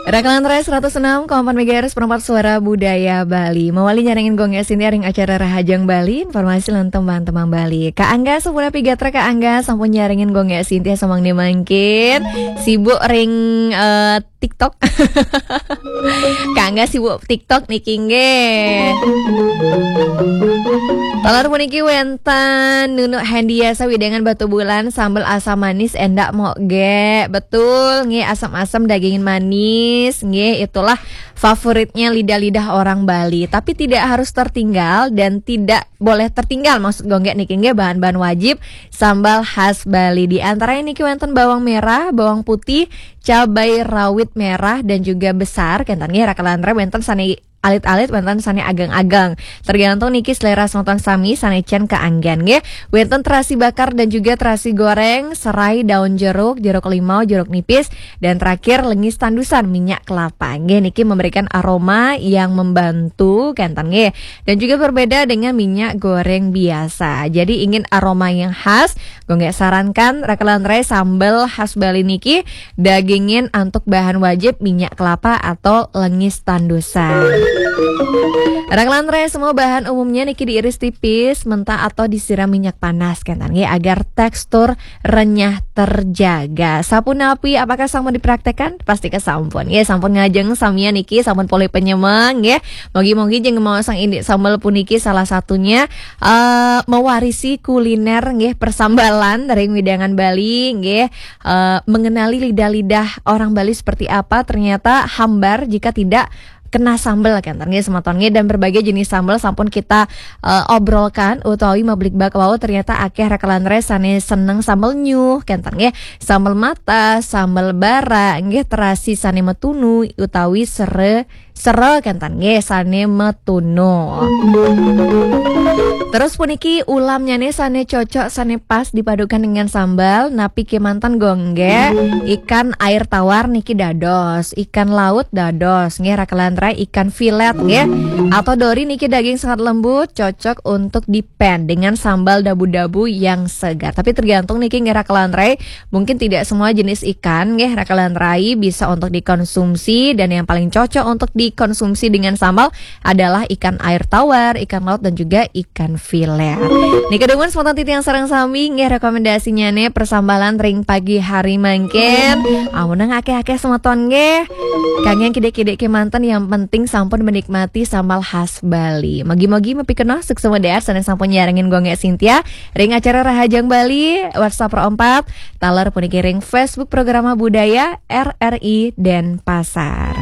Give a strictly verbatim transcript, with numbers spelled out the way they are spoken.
Rakalan Rai seratus enam koma empat megahertz, perempat suara budaya Bali. Mawali nyarengin Gung Gek Sintia ring acara Rahajeng Bali, informasi lan tembang-tembang Bali. Kak Angga, sampun napi gatra Kak Angga, sampun nyarengin Gung Gek Sintia samangke mangkin. Sibuk ring eh, TikTok. Kak Angga sibuk TikTok niki nggih. Taler puniki wenten Nunuk Hendiasa wewidangan Batubulan, sambel asam manis endak mok ge. Betul, nggih, asam-asam dagingin manis, nggih, itulah favoritnya lidah-lidah orang Bali. Tapi tidak harus tertinggal dan tidak boleh tertinggal, maksud Gung Gek niki nggih, bahan-bahan wajib sambal khas Bali. Di antaranya niki wenten bawang merah, bawang putih, cabai rawit merah dan juga besar, kenten nggih, rakalan Rai, wenten sane alit-alit, wenten sane ageng-ageng. Tergantung niki selera semeton sami sane cen kaanggen nggih. Wenten terasi bakar dan juga terasi goreng, serai, daun jeruk, jeruk limau, jeruk nipis, dan terakhir lengis tandusan, minyak kelapa. Nggih, niki memberikan aroma yang membantu, kenten nggih. Dan juga berbeda dengan minyak goreng biasa. Jadi ingin aroma yang khas, Gung Gek sarankan rakalan Rai, sambel khas Bali niki dagingin antuk bahan wajib minyak kelapa atau lengis tandusan. Rakalan Rai, semua bahan umumnya niki diiris tipis, mentah atau disiram minyak panas, kenten nggih, agar tekstur renyah terjaga. Sapunapi, apakah sampun dipraktekkan? Pasti kesampun. Ya, sampun ngajeng samian niki, sampun polih penyemeng nggih. Mogi-mogi jeneng maosang indik sambel puniki salah satunya eh, mewarisi kuliner nggih, persambalan dari wewidangan Bali nggih, eh, mengenali lidah-lidah orang Bali seperti apa. Ternyata hambar jika tidak kena sambel, kenten nggih, semeton nggih, dan berbagai jenis sambel sampun kita eh, obrolkan utawi mablikbak wau, ternyata akeh rakalan Rai sane seneng sambel nyuh, kenten nggih, sambel mata, sambel bara nggih, terasi sane metunu utawi sere sera, kenten nggih, sane metunu. Terus puniki ulamnyane sane cocok, sane pas dipadukan dengan sambal, napi kemanten Gung Gek? Ikan air tawar niki dados, ikan laut dados nggih, rakalan Rai, ikan filet nggih. Atau dori niki daging sangat lembut, cocok untuk dipen dengan sambal dabu-dabu yang segar. Tapi tergantung niki nggih, rakalan Rai, mungkin tidak semua jenis ikan nggih, rakalan Rai, bisa untuk dikonsumsi, dan yang paling cocok untuk dikonsumsi dengan sambal adalah ikan air tawar, ikan laut, dan juga ikan filet. Nika dumun semeton titiang sareng sami nggih, rekomendasinyane persambalan ring pagi hari mangkin. Amunang akeh-akeh semeton nggih. Kangge kidek-kidek kemanten, yang penting sampun menikmati sambal khas Bali. Mogi-mogi mapikenoh suksma dahat sane sampun nyarengin Gung Gek Sintia ring acara Rahajeng Bali, WhatsApp Pro empat, taler puniki ring Facebook Programa Budaya R R I Denpasar.